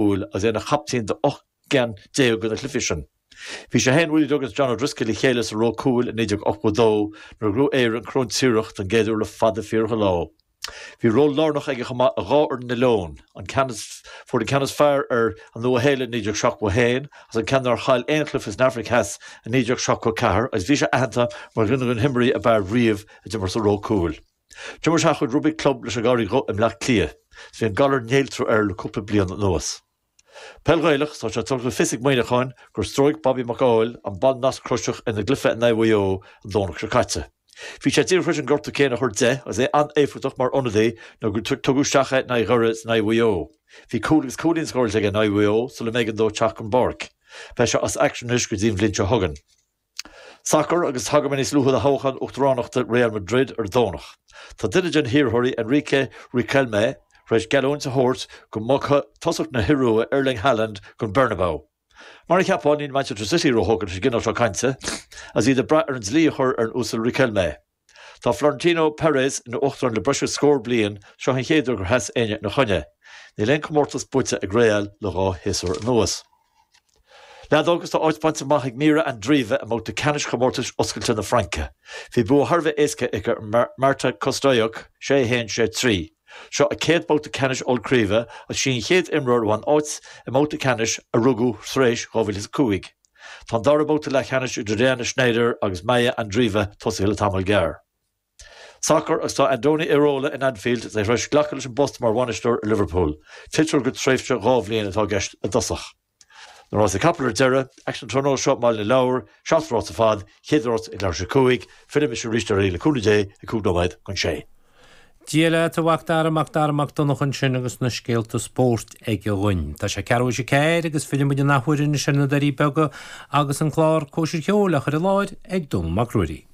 Cúil agus é ina chaptaen do 18 gceann de na cluichí sin. Bhí sé féin, Willie Duggan agus John O'Driscoll le chéile sa ró cúil i 1982 nuair a ghnóthaigh Éire an Corn Triarach don gcéad uair le fada fíorach an lá. Bhí ról lárnach aige chomh maith i dhá fhoireann na Leon, an ceann a fuair an ceann is fearr ar an Nua Shéalainn i 1971 agus an ceann nár chaill aon chluiche san Afraic Theas i 1974 agus bhí sé aitheanta mar dhuine de na himreoirí ab fhearr riamh a d'imir sa ró cúil. D'imir sé a chuid rugbaí club leis an gCarraig Dhubh i mBleá Cliath. Bhí an galar néaltrú air le cúpla bliain anuas. Peil Ghaelach, Tá sé tugtha le fios ag Muineachán gur stróic Bobby Mac Ádhaimh an bonn nasc-chroiseach ina gcluiche in aghaidh Mhaigh Eo an Domhnach seo caite. Bhí sé díreach tar éis an gortú céanna a chur de agus é an-éifeachtach mar ionadaí nuair gur tugadh isteach é in aghaidh Dhoire is in aghaidh Mhaigh Eo. Bhí cúl agus cúilín scóráilte aige in aghaidh Mhaigh Eo sula mb'éigean dó teacht den bpáirc. Beidh sé as aicsean anois go dtí an bhliain seo chugainn. Sacar agus tagairfidh mé níos luaithe do thoghchán uachtaránachta Real Madrid ar an Domhnach. Tá duine de na hiarrthóirí, Enrique Riquelme, tar éis geallúint a thabhairt go mbogfaidh tosach na hIorua, Erling Haaland, go Bernabeu. Mar a cheapfá, níl Manchester City róthógtha leis an gcineál seo cainte, agus iad ag brath ar an dlí a chur ar an Uasal Riquelme. Tá Florentino Perez ina uachtarán le breis agus scór bliain, seo an chéad uair gur sheas éinne ina choinne. Níl aon chomórtas buaite ag Real le dhá shéasúr anuas. Leadóg agus tá áit bainte amach ag Mirra Andreeva i mbabhta ceannais chomórtais oscailte na Fraince. Bhí bua thar a bheith éasca aici ar Marta Kostyuk, 6 1, 6 3. Seo a céad babhta ceannais ollchraoibhe agus sí an chéad imreoir a bhain áit i mbabhta ceannais a rugadh tar éis 2005. Tá an dara babhta leathcheannais idir Diana Shnaider agus Maya Andreeva tosaithe le tamall gearr. Sacar agus tá Andoni Iraola in Anfield is é tar éis glacadh leis an bpost mar bhainisteoir ar Liverpool. Tuigtear gur tréimhse 2 bhliain atá i gceist i dtosach. Na rásaí capall ar deireadh, aicsean an tráthnóna seo i mBaile na Lobhar, 7 rás ar fad, chéad rás ag leathuair tar éis a 5, fillfidh mise arís ar aghaidh le cúnamh Dé ag 5 nóiméad don 6. Dia leat, a Mhac Dara, Mac Dara Mac Donncha ansin agus na scéalta spóirt aige dhuinn. Tá sé ceathrú théis a ceathair agus filleann muid an athuair anois ar na Doirí Beaga agus an clár Cóisir Cheoil á chur i láthair ag Dónall Mac Ruairí.